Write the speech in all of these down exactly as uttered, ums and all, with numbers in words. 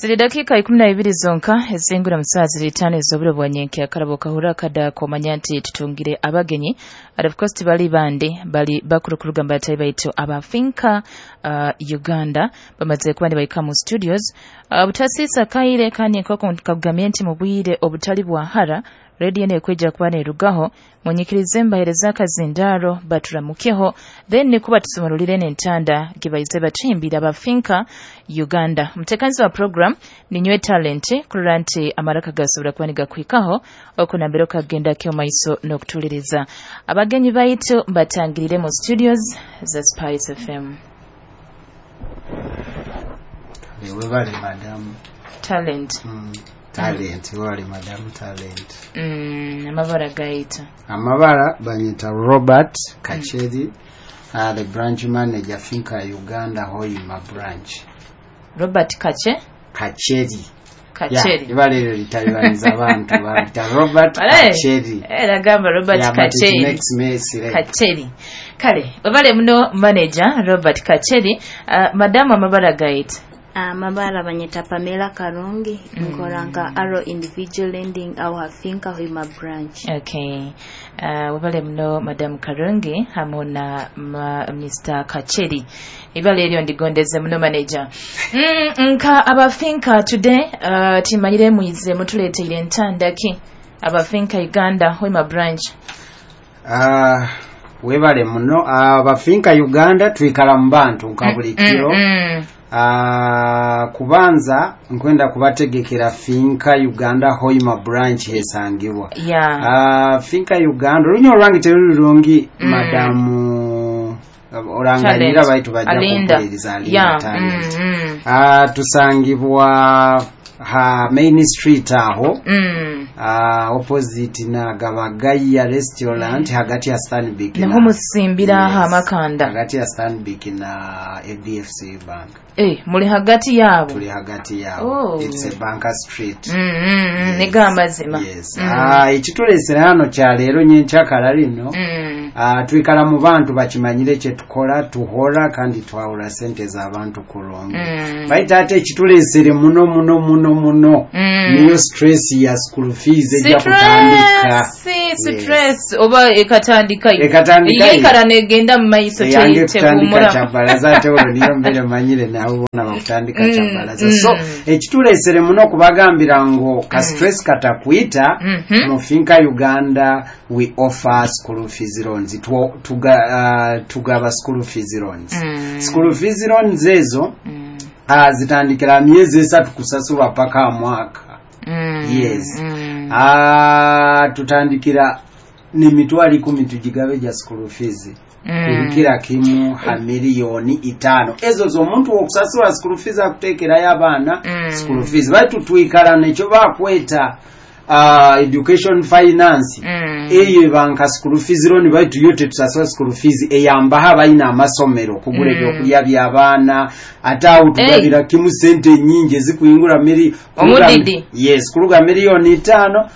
Ziri dakika ikumi na ibiri zonka ezingura mu saa ziri itaano ez'oburo bwa nyenkya. Karabo kahura kada komanya nti tutungire abagenyi, and of course tibali bandi, bali bakuru kuruga mbatayi baitu aba Finca uh, Uganda bamaze kuba nibaika mu studios. uh, butasisa kaire kandi nkoko nkakugamye nti mu bwire obutali bwa hara radio nekweja kuba nerugaho, munyikirize mbahereza akazindaro baturamukeho, then nikuba tusumululire n'entanda gibaize bachimbira aba Finca Uganda. Mutekanzi wa program ni Nywe Talent kurora nti amaraka gasobora kuba nigakwikaho okunambira okagenda kyo maiso n'okutuliriza. Abagenyi baitu mbatangirire mu studios za Spice F M. Webale madam Talent. Mm. Talent, wali madam Talent. Mm, amabara gaita. Amabara banyita Robert Kacheri, mm. uh, the branch manager Finca Uganda Hoima branch. Robert Kache? Kacheri. Kacheri. Ibale litalibaniza abantu banyita Robert Kacheri. Eh, nagamba Robert yeah, Kacheri. Makes me select. Kacheri. Kale, wabale muno manager Robert Kacheri, uh, madam amabara gaita. Amabara uh, banyita Pamela Karungi, mm. nkoranga Arrow Individual Lending au Finca Hoima branch. Okay. Uh, wabale mno Madam Karungi hamu na ma, Mister Kacheri. Ibale elyo ndigondeze muno manager. Mm, nka aba Finca today uh, timanyire mwize mutuleteire entanda ki aba Finca Uganda Hoima branch. Ah uh, webale muno aba Finca Uganda twikala mu bantu nka buli kiro. Mm, mm. Uh, kubanza nkwenda kubategekera Finca Uganda Hoima branch hesangibwa. Yeah. Uh, Finca Uganda olunyo olwange teruli lungi, mm. Madamu oranganyira baitu bajja kumpuliriza Alinda yeah. Talent. Mm, mm. Uh, tusangibwa ha main street aho, mm. uh, opposite na Gabagaya restaurant, mm. hagati ya Stanbic na musimbira yes, ha makanda hagati ya Stanbic na A B F C Bank. Eh, muli hagati yabo. Tuli hagati yabo. Oh. It's a Banker Street. Mm, mm, yes. Nigamba zima. Yes. Mm. Ah, ekitulesera hano kya leero nyenkyakala lino. Mm. Ah, twikala mu bantu bakimanyire kye tukola, tuhora kandi twawula sente z'abantu kulongo. Mm. Baita ate ekitulesere muno muno muno muno. Mm. Niyo stress ya school fees ejja kutandika. Stress oba ekatandika. Ekatandika. Yekara negenda mu maiso kye kutandika kyabalaza ate olwo niyo mbere manyire nawe bona bakutandika mm. kyabalaza. Mm. So ekitulesere muno kubagambira ngo ka stress katakwita, mm -hmm. mu Finca Uganda we offer school fees loans. Tuga, uh, tugaba school fees loans. Mm. School fees loans ezo mm. uh, zitandikira myezi esatu kusasulwa paka mwaka. Mm. Yes. Mm. Ah, tutandikira ni mitwalo ikumi tujigabe ja school fees. Mm. Kila kimu ha milioni itano ezo z'omuntu okusasula school fees akuteekerayo abaana mm. school fees baitu twikala nekyo bakweta uh, education finance mm. eyo banka school fees loan baitu yo tetusasula school fees eyambaho abalina amasomero kugula mm. ebyokulya by'abaana ate awo tugabira hey. kimu sente nnyingi ezikuyingula mili omudidi yes kuluga milioni itano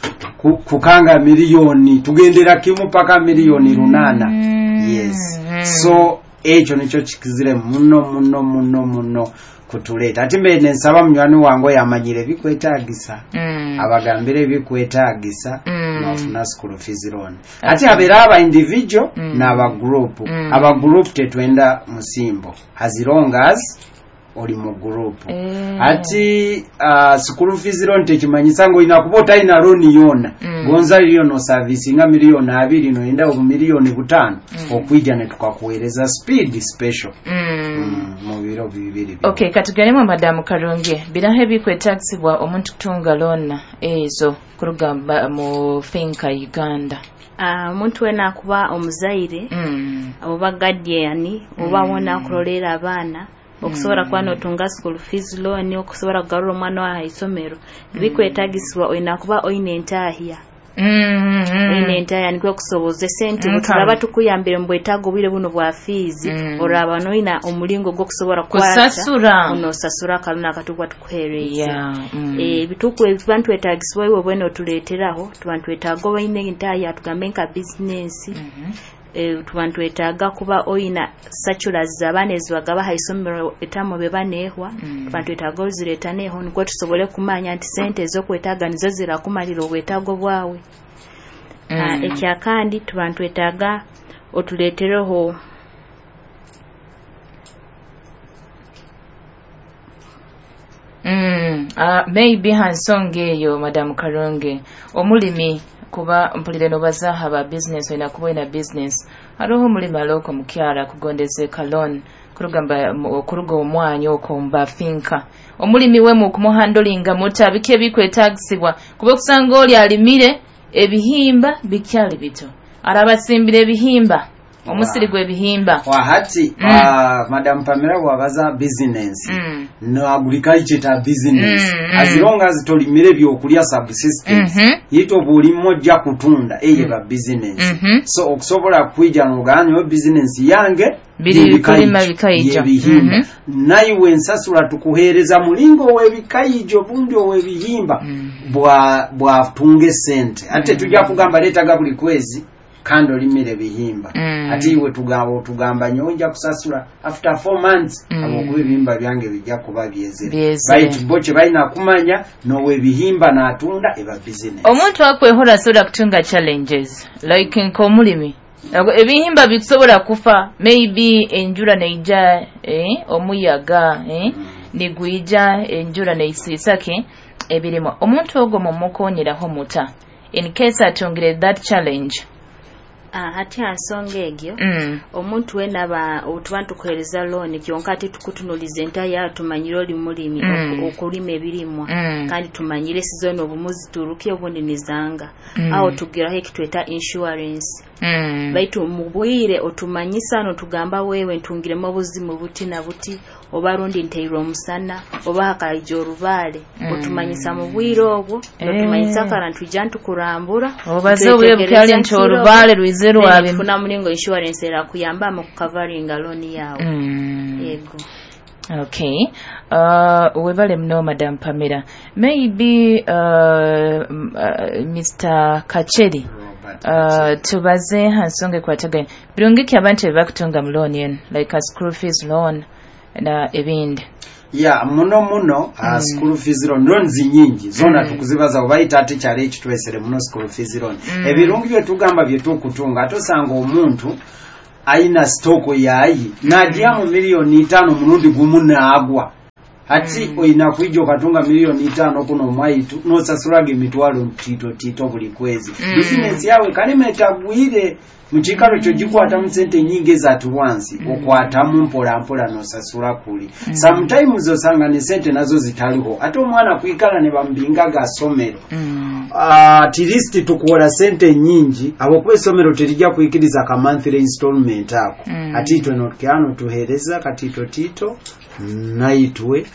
kukanga milioni tugendera kimu paka milioni runana mm. Yes. So ekyo nikyo kikizire muno muno muno muno kutuleeta. Ate mbe nensaba munywani wange yamanyire bikwetaagisa. Mm. Abagambire bikwetaagisa mm. n'ofuna school fees loan. Ate abeera aba individual mm. n'aba group. Mm. Aba group tetwenda musimbo. As long as oli mu group. Eh. Ati uh, school fees loan tekimanyisa ngo olina kuba otalina loan yonna. Mm. Gonza yo no service nga milioni abiri noyenda obu milioni butaano mm. okwijja ne tukakuweereza speed special. Mm. Mm, mu biro bibiri. Okay, katugeremu Madamu Karungi. Biraho ebikwetagisibwa omuntu kutunga loan ezo kuruga mu Finca Uganda. Omuntu uh, wena akuba omuzaire mm. oba guardian oba mm. wona akulolera abaana okusobola kuba notunga school fees loan okusobola kugarura omwana wa isomero mm. bikwetagisibwa olina kuba oyina entahya mm, mm. oyina entahya nikwo kusoboza esente Mm, bwe tukuyambire mu bwetaago obwire buno bwa fees mm. oraba noyina omulingo gw'okusobola kusasura onosasura akaluna akatukuba tukuheereza yeah, mm. ebituku ebituba ntwetagisibwa iwe bwene otuleeteraho tuba ntwetaaga oba oyina entahya tugambe nka bizinensi mm -hmm. e, tuba ntwetaaga kuba oyina circulars z'abaana ezibagaba ha isomero etamu beba neehwa Mm. tuba ntwetaaga ozireeta neeho nikwo tusobole kumanya nti sente ez'okwetaaga nizo zirakumalira obwetaago bwawe. Mm. Ah, ekyakandi tuba ntwetaaga otuleetereho Mm, uh, maybe ha nsonga eyo Madam Karungi, omulimi kuba mpulire nobazaha ba business oyina kuba oyina business, hariho omulimi aloko mukyara kugondeze kalon kurugamba kuruga omwanya okwo mbafinka omulimi we mu kumuhandolinga muta biki ebikwetagisibwa kuba okusanga oli alimire ebihimba bikyali bito arabasimbire ebihimba omusiri gw'ebihimba wahati Mm. uh, Madam Pamela wabaza business Mm. no agriculture ta business Mm, mm. as long as tolimire byokulya subsistence Mhm. yito bulimo ojja kutunda eye ba business Mhm. so okusobola kwija n'ogamba business yange Biri y'ebikayijo, kulima bikayijo. y'ebihimba Mhm. naiwe ensasula tukuheereza mulingo ow'ebikayijo bundi ow'ebihimba Mm. bwa bwatunga esente ate tujja kugamba leetaga buli kwezi kandi olimire bihimba Mm. ate iwe tugamba otugamba nyowe nja kusasula after four months Mm. habwokuba ebihimba byange bijja kuba byezere Byezere. baitu bo kye balina kumanya n'ow'ebihimba n'atunda eba business omuntu akwehora asobola kutunga challenges like nk'omulimi Ago- ebihimba bikusobola kufa maybe enjura neija eh, omuyaga eh, nigwija enjura neisiisake ebirimwa omuntu ogwo mumukonyeraho muta in case atungire that challenge? Ah, hati ha nsonga egyo mm. omuntu wena aba otuba ntukuheereza looni kyonka ate tukutunuliza entaya tumanyire oli mulimi Mm. oku- okulima ebirimwa Mm. kandi tumanyire sizoni obumu zituruke obundi nizanga Mm. aho tugiraho ekitweta insurance Mm. baitu mu bwire otumanyisa notugamba wewe ntungiremu obuzimu buti na buti oba rundi nteirwe omusana oba hakaija orubaale Mm. otumanyisa mu bwire obwo Eh. notumanyisa kara ntwija ntukurambura obaze obwire bukyali nti orubaale rwize rwabe tufuna mulingo insurance erakuyamba mu kukavaringa looni yawe Mm. yego Okay. Uh, webale mno Madam Pamela. Maybe uh, m- uh, Mister Kacheri. Robert. Uh, tubaze ha nsonga ekwataganye birungi ki abantu ebibakutunga mu loan eno like a school fees loan na ebindi? Ya muno muno uh, school fees loan loans nyingi zona Mm. tukuzibaza obayita ate kyalo ekitwesere muno school fees loan Mm. ebirungi byetugamba byetukutunga ate osanga omuntu ayina sitooko yayi n'agyamu miliyoni itaano mulundi gumu n'agwa ati Mm. oyina kwija okatunga miliyoni itaano kuno omwaitu n'osasulaga emitwalo tito tito buli kwezi Mm. bizinesi yawe kalema etagwire mu kiikaro kyo gikwatamu sente nyingi ezatuwansi Mm. okwatamu mpola mpola n'osasula kuli Mm. sometimes osanga ne sente nazo zitaliho ate omwana kwikala ne bamubingaga asomero Mm. at least tukuwola sente nyingi habwokuba essomero terijja kuyikiriza ka monthly installment ako Mm. ati itwe nokyano tuheereza katito tito naitwe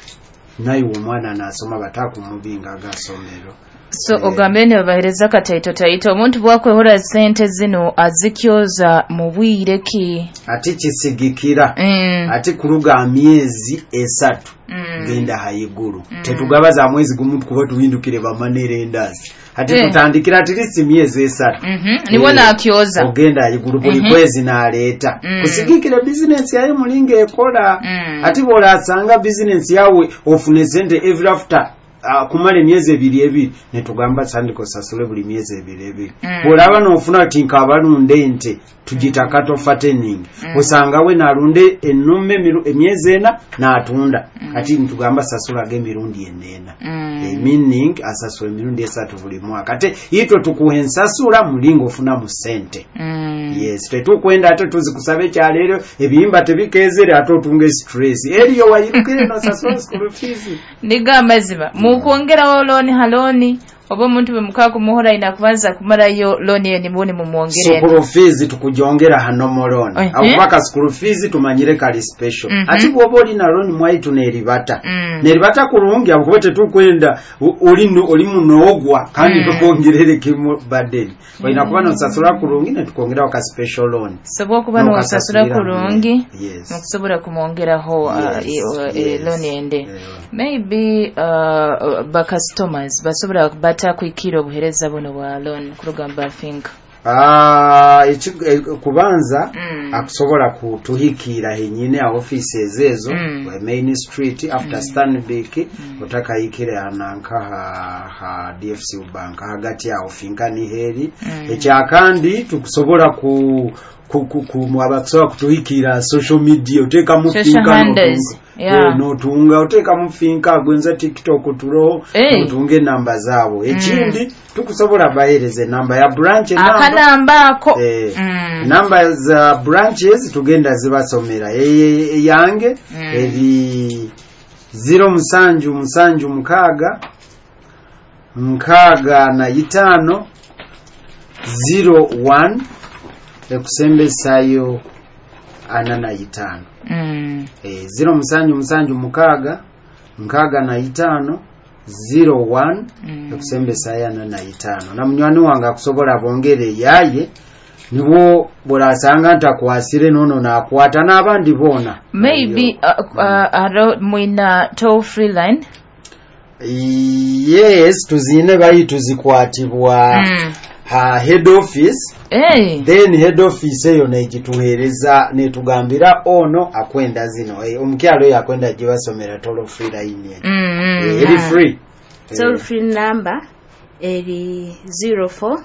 naiwe omwana nasoma batakumubingaga asomero So Eh. ogambe ne babahereza kataito taito omuntu bwakwehora sente zino azikyoza mu bwire ki? ati kisigikira Mm. ati kuluga myezi esatu Mm. genda haiguru Mm. tetugaba za mwezi gumu kuba tuhindukire bamanerendazi ati Eh. tutandikira at least myezi esatu Mhm. Niwo nakyoza ogenda ayigulu buli Mhm. kwezi n'aleeta Mm. kusigikira bizinensi yayo mulinga ekola Mm. ate bw'olasanga bizinensi yawe ofune sente every after uh, kumala emyezi ebiri ebiri netugamba sandika osasule buli myezi ebiri ebiri Mm. bw'olaba n'ofuna ti nk'abalunda ente tugita cattle fattening Mm. osanga we n'alunda ennume emiru- emyezi ena n'atunda Mm. ati nitugamba sasulaga emirundi eneena Mm. Eh, meaning asasula emirundi esatu buli mwaka ate itwe tukuha ensasula mulinga ofunamu sente Mm. yes tetukwenda ate tuzikusaba ekyaleero ebiyimba tebikezere ate otunga stress eriyo wayirukire nosasula school fees Niga amazima mukwongerawo looni ha looni oba omuntu bwe mukaa kumuhora ina kubanza kumalayo looni eyo nimuuni mumwongerera school fees tukujongera hano moloni Eh, akuba ka school fees tumanyire kali special Mhm. ati bwoba olina loan mwaitu neribata Mm. neribata kulungi akuba tetukwenda u- oli no- oli munoogwa kandi Mm. tukwongerere kimu burden olina kuba nosasula kulungi netukwongeraho ka special loan so bwokuba nosasula N'okasasulira kulungi yes mukusobola kumwongeraho uh, Yes, e- e- yes. looni ende Yeah. maybe uh, ba customers basobola batakwikira obuhereza buno bwa loan kurugamba think Ah, eki- eh, kubanza Mm. akusobola kutuhikiira henyine a offices ezo Mm. main street after Stanbic, otakahikire hananka ha, ha D F C Bank, hagati awo finka niheri. Mm. Ekyakandi tukusobola ku ku, ku, ku abakusobola kutuhikiira social media, oteekamu Social finka handles, n'otunga. Yeah. Eh, n'otunga oteekamu finka gwenza TikTok turoho, Eh. n'otunga enamba zaabo. Ekindi tukusobola baheereza enamba ya branch, enamba Akanamba ako. Eh, Mm. namba za branches tugenda zibasomera. E- eyange Mm. eri zero musanju musanju mukaaga nkaaga na itaano zero one ekusembesayo ana na itaano. Mm. Eh, zero musanju musanju mukaaga nkaaga na itaano zero one Mm. ekusembesayo ana na itaano. Na munywani wange akusobola bongere eyaye, nibwo burasanga ntakwasire nono nakwata n'abandi boona. Maybe uh, uh, aro mwina toll free line? Yes, tuzine, bayi tuzikwatibwa Mm. ha head office. Hey. Then head office eyo negituheereza netugambira ono akwenda zino. Eh, omukyalo oyo akwenda gibasomera toll free line eno. Mm, mm, Eh, eri free. Toll free number eri zero four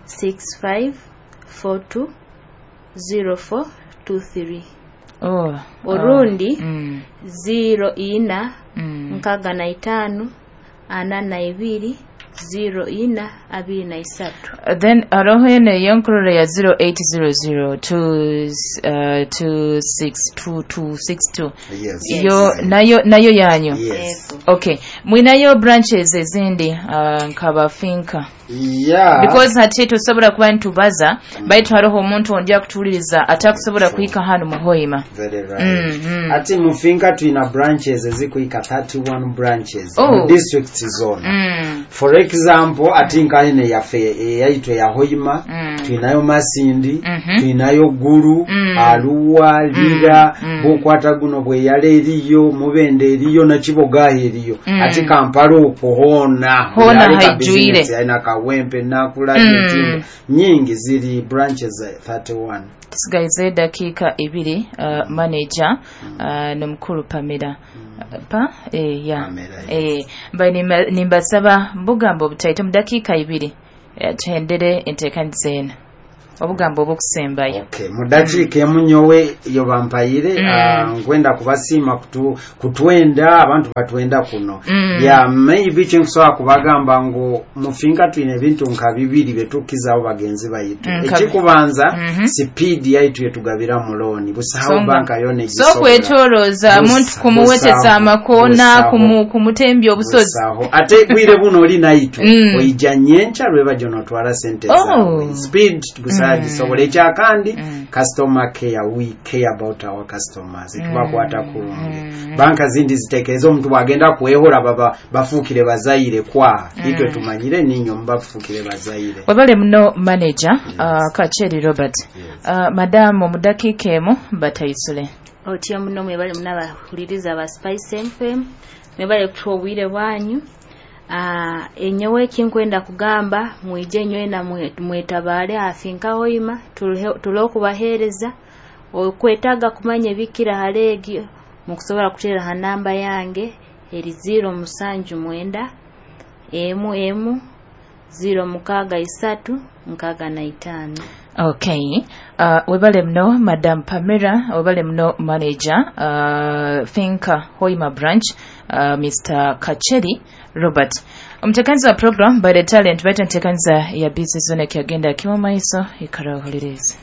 six five four two zero four two three. Oh, Orundi oh. Mm. zero ina Mm. nkaaga na itaano ana na ibiri zero ina abiri na isatu. Uh, then aroho eno eyonkurora ya zero eight zero zero two, uh, two six two two six two. Yes. Yo nayo nayo yanyu? Yes. Ego. Okay, mwinayo branches ezindi uh, nkaba finka? Yeah. Because hati tosobola kuba nitubaza, baitu hariho omuntu ondi akutuwuliriza atakusobola kuhika hano mu Hoima. Very right. Mm, mm. Ati mufinka tulina branches ezikuhika thirty-one branches Oh. mu districts zona. Mm. For example, ati nkahene yaffe eyaitu eya Hoima, Mm. tulinayo Masindi, Mhm. tulinayo Gulu, Mm. Aluwa, Lira, Mm. bukwata guno bweyala eriyo, Mubende eriyo, Nakibogaho eriyo. Mm. Ati Kampala okwo hoona Hoona Aleka haijwire. business, alina Kawempe, Nakula, Mm. Ntinda nyingi ziri branches eh, thirty-one. Tusigaize edakiika ebiri, uh, manager uh, nomukulu Pamela. Uh, pa eh, ya. Pamela, eh, mba nimba- nimbasaba bugambo obutaito mu dakiika ibiri, eh, tuhendere enteekaniza eno, obugambo obwokusembayo. Okay, mu dakiika emu nyowe yo bampayire. Mm. ah, nkwenda kubasiima kutu, kutwenda abantu batwenda kuno. Mm. Ya maybe kyenkusobola kubagamba ngu mufinka twine ebintu nka bibiri byetukizaho bagenzi baitu. Mm, kabi- Ekikubanza, Mhm. speed yaitu yetugabira mu looni, busaho Songa. banka yona So kwetolooza Busa- muntu kumuwetesa busaho, amakoona, busaho. kumu- kumutembya obusozi. Busaho. Ate bwire buno oli naitu, Mm. oija nyencha lwebajo notwara sente Oh. zawe, speed busaho gisobola. Ekyakandi, Mm. customer care. We care about our customers, tubakwata kurungi. Mm. Banka zindi zitekereza omuntu bwagenda kwehora baba bafuukire bazaire kwa itwe tumanyire ninyo mubafuukire bazaire. Webale muno manager, uh, Kacheri Robert. Yes. uh, madamu mu dakiika emu batayisule. Otyo muno, mwebale muno abahuliriza ba Spice F M, mwebale kutuwa obwire bwanyu. Ah, enyowe ekinkwenda kugamba, mwije nywena mwe- mwetabaale afinka Hoima, tule okubaheereza. Okwetaaga kumanya ebikira haleegi, mukusobola kuteera ha namba yange eri zero musanju mwenda emu emu zero mukaaga isatu nkaaga na itaano. Okay, uh, webale muno Madam Pamela, webale muno manager, uh, Finka Hoima branch, uh, Mister Kacheri Robert. Omuteekaniza wa program by the talent, baita nteekaniza ya Busy Zone, kyagenda kimu maiso, ikara ohulirize.